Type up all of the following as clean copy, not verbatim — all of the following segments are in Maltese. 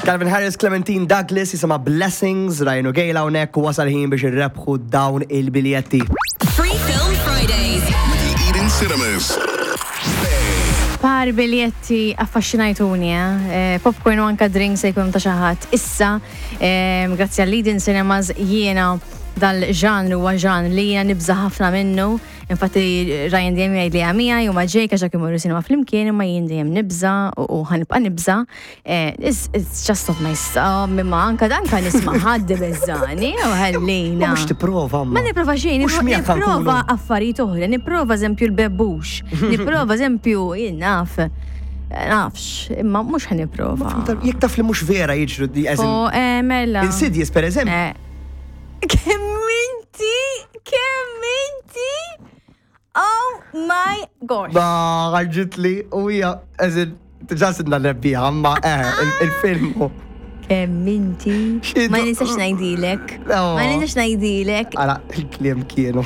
Calvin Harris, Clementine Douglas, jisimha Blessings, Ryan u Gail hawnhekk u wasal ħin biex irrebħu dawn il-biljetti. Free Film Fridays. With the Eden Cinemas. Par biljetti affaxxinajtuni, eh? eh popcorn u anka drinks se jkunu ta' xi ħadd. Issa, eh, grazzi għall Eden Cinemas jiena dal-ġanru huwa ġan li jiena nibża ħafna minnu. Infatti Ryan dejjem jgħid li għamija jew ma' Jake għax dak imorru sinema flimkien imma jien dejjem nibża u ħanibqa' nibża. Eh, it's just not my style, imma anka danka nisma' ħadd beżani u ħallina. Mhux tipprova ma. Nipprova xejn, nipprova affarijiet oħra, nipprova eżempju l-bebbux, nipprova eżempju jien naf. Eh, nafx, imma mhux ħan nipprova. Jekk taf li mhux vera jiġru di Oh, eh, mela. Insidious per eżempju. Kemm inti, kemm inti, oh my gosh. Ba, ħarġitli u hija, eżin, ġa sidna rebbieħa, ma eh, il-film. Kemm inti. Ma nistax ngħidilek. Ma nistax ngħidilek. Ara, il-kliem kienu.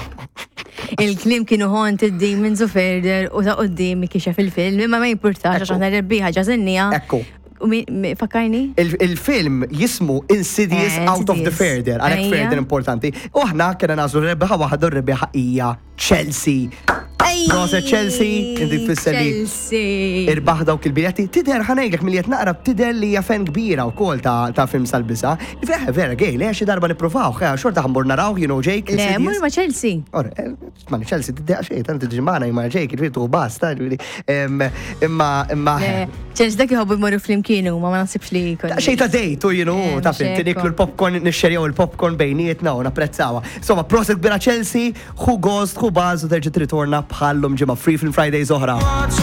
Il-kliem kienu Haunted Demons u Further u ta' qudiem kixef il-film, imma ma jimpurtax għax aħna rebbieħa ġażennija. Ekku. Fakkarni? Il-film jismu Insidious eh, Out of the Further, għalhekk Further importanti. U aħna kena nażlu rebbieħa waħda u rebbieħa hija Chelsea. Proset Chelsea, inti tfisser li irbaħ dawk il-biljetti. Tidher ħanejlek milli qed naqra tidher li hija fan kbira wkoll ta' film sal-biża. Vera, vera gej, le xi darba nippruvaw, eh, xorta ħammur naraw, you know Jake. Le, mur ma' Chelsea. Eh, ma' Chelsea tiddeqa xejn, tant tiġi magħna ma' Jake, ġifieri tuħu basta, imma imma. Chelsea dak jħobbu jmorru flimkien huma ma naħsibx li jkun. Xejn ta' dejt u you know, ta' fim, tiniklu l-popcorn, nixxerjaw il-popcorn bejnietna u napprezzawha. Insomma, proset kbira Chelsea, Ħu gost, ħu baż u terġa' tirritorna bħal-lum ġimgħa Free Film Fridays oħra.